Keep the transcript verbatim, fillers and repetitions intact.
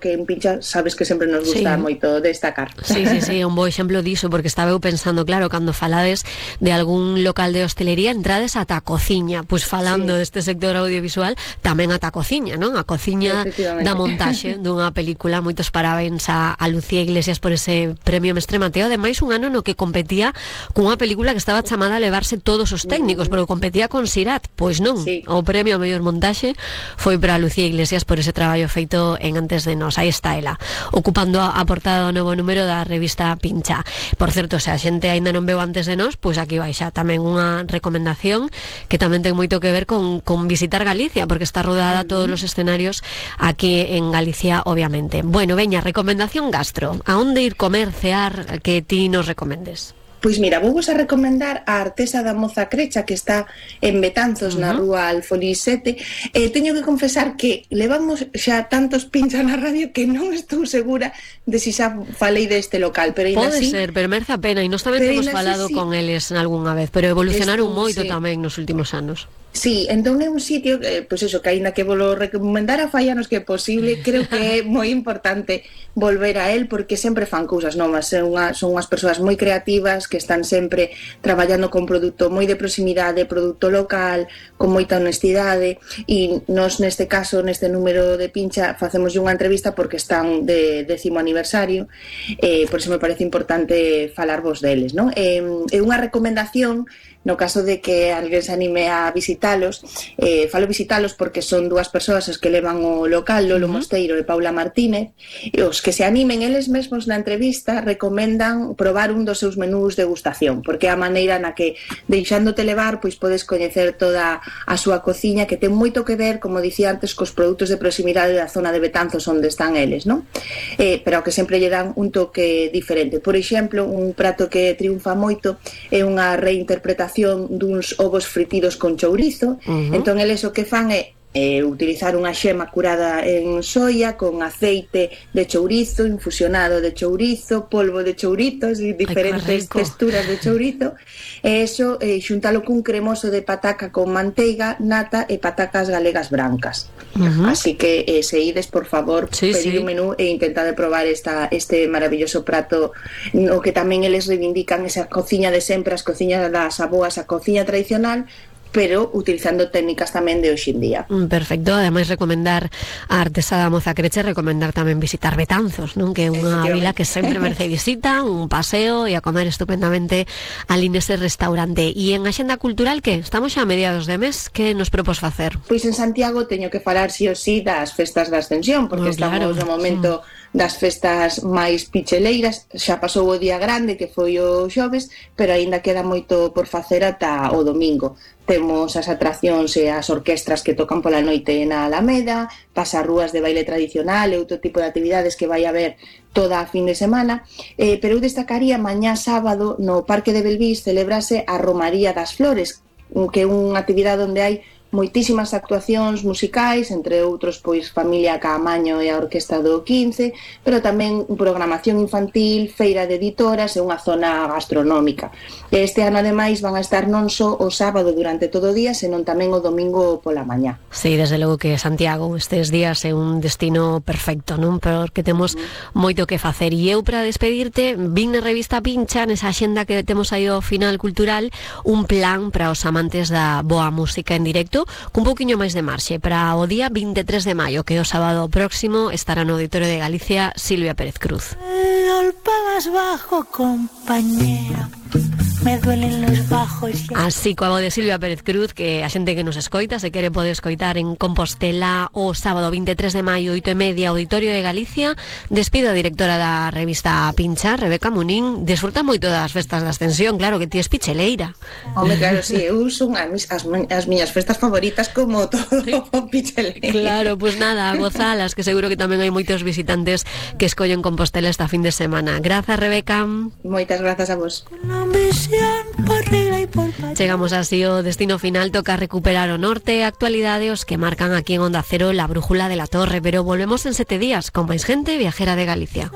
que en Pincha sabes que sempre nos gusta sí. moito destacar. Sí, sí, sí, un bo exemplo diso, porque estaba eu pensando, claro, cando falades de algún local de hostelería, entrades ata a cociña, pois falando sí. deste sector audiovisual, tamén ata a cociña, non? A cociña da montaxe dunha película. Moitos parabéns a, a Lucía Iglesias por ese premio Mestre Mateo, ademais un ano no que competía cunha película que estaba chamada a levarse todos os técnicos, mm. pero competía con Sirat, pois non, sí. o premio a mellor montaxe foi para Lucía Iglesias por ese traballo feito en Antes de Nós. Aí está ela, ocupando a portada do novo número da revista Pincha. Por certo, se a xente aínda non veu Antes de Nós, pois aquí vai xa tamén unha recomendación que tamén ten moito que ver con, con visitar Galicia, porque está rodada todos os escenarios aquí en Galicia, obviamente. Bueno, veña, recomendación gastro. A onde ir comer, cear, que ti nos recomendes? Pois mira, vou vos a recomendar a Artesa da Moza Crecha, que está en Betanzos, uh-huh. na rúa Alfolís sete. Eh, teño que confesar que levamos xa tantos pinchas na radio que non estou segura de si xa falei deste local, pero ainda pode así... ser, pero merece a pena, e nós tamén temos falado sí. con eles algunha vez, pero evolucionaron Estou, moito sí. tamén nos últimos anos. Sí, entón é un sitio, eh, pois eso, que aínda que volo recomendara fai anos que é posible, creo que é moi importante volver a él, porque sempre fan cousas novas, son, unha, son unhas persoas moi creativas que están sempre traballando con produto moi de proximidade, produto local, con moita honestidade, e nos neste caso, neste número de Pincha, facemos unha entrevista porque están de décimo aniversario, eh, por iso me parece importante falarvos deles, non? Eh, é unha recomendación no caso de que alguén se anime a visitalos, eh, falo visitalos porque son dúas persoas as que levan o local, Lolo uh-huh. Mosteiro e Paula Martínez, e os que se animen eles mesmos na entrevista recomendan probar un dos seus menús de degustación, porque é a maneira na que, deixándote levar, pois podes coñecer toda a súa cociña, que ten moito que ver, como dicía antes, cos produtos de proximidade da zona de Betanzos onde están eles, non? Eh, pero que sempre lle dan un toque diferente. Por exemplo, un prato que triunfa moito é unha reinterpretación duns ovos fritidos con chourizo. Uh-huh. Entón eles o que fan é eh, utilizar unha xema curada en soia con aceite de chourizo, infusionado de chourizo, polvo de chouritos e diferentes texturas de chourizo, e eso eh, xuntalo cun cremoso de pataca con manteiga, nata e patacas galegas brancas. Uh-huh. Así que eh, se ides, por favor, sí, pedir sí. un menú e intentad de probar esta, este maravilloso prato, no que tamén eles reivindican esa cociña de sempre, as cociñas das aboas, a cociña tradicional, pero utilizando técnicas tamén de hoxe en día. Perfecto, ademais recomendar a Artesa da Moza Crecha, recomendar tamén visitar Betanzos, non? Que é unha vila que sempre merece visita, un paseo e a comer estupendamente ali nese restaurante. E en Axenda Cultural, que estamos xa a mediados de mes, que nos propós facer? Pois en Santiago teño que falar sí o sí das festas da Ascensión, porque oh, claro. estamos no momento sí. das festas máis picheleiras. Xa pasou o día grande, que foi o xoves, pero aínda queda moito por facer ata o domingo. Temos as atraccións e as orquestras que tocan pola noite na Alameda, pasarrúas de baile tradicional e outro tipo de actividades que vai haber toda a fin de semana, eh, pero eu destacaría mañá sábado no Parque de Belvís celebrase a Romaría das Flores, que é unha actividade onde hai moitísimas actuacións musicais, entre outros pois Familia Caamaño e a Orquesta do quince, pero tamén programación infantil, feira de editoras e unha zona gastronómica. Este ano ademais van a estar non só o sábado durante todo o día, senón tamén o domingo pola mañá. Sí, desde logo que Santiago estes días é un destino perfecto, non? Porque temos mm. moito que facer. E eu, para despedirte, vin na revista Pincha, nesa axenda que temos aí ao final cultural, un plan para os amantes da boa música en directo, cun pouquiño máis de marxe. Para o día vinte e tres de maio, que é o sábado próximo, estará no Auditorio de Galicia Silvia Pérez Cruz. El pagas bajo, compañera. Me duelen los bajos. Así coa voz de Silvia Pérez Cruz, que a xente que nos escoita, se quere pode escoitar en Compostela o sábado vinte e tres de maio, oito e media, Auditorio de Galicia. Despido a directora da revista Pincha, Rebeca Munín. Desfruta moito das festas da Ascensión, claro que ti es picheleira. Home, claro, si, sí, eu son as, as, as miñas festas favoritas como todo picheleira. Claro, pues nada, gozalas, que seguro que tamén hai moitos visitantes que escollen Compostela esta fin de semana. Grazas, Rebeca. Moitas grazas a vos. Chegamos así ao destino final. Toca recuperar o norte e a actualidade, os que marcan aquí en Onda Cero la brújula de la Torre, pero volvemos en sete días con máis gente viajera de Galicia.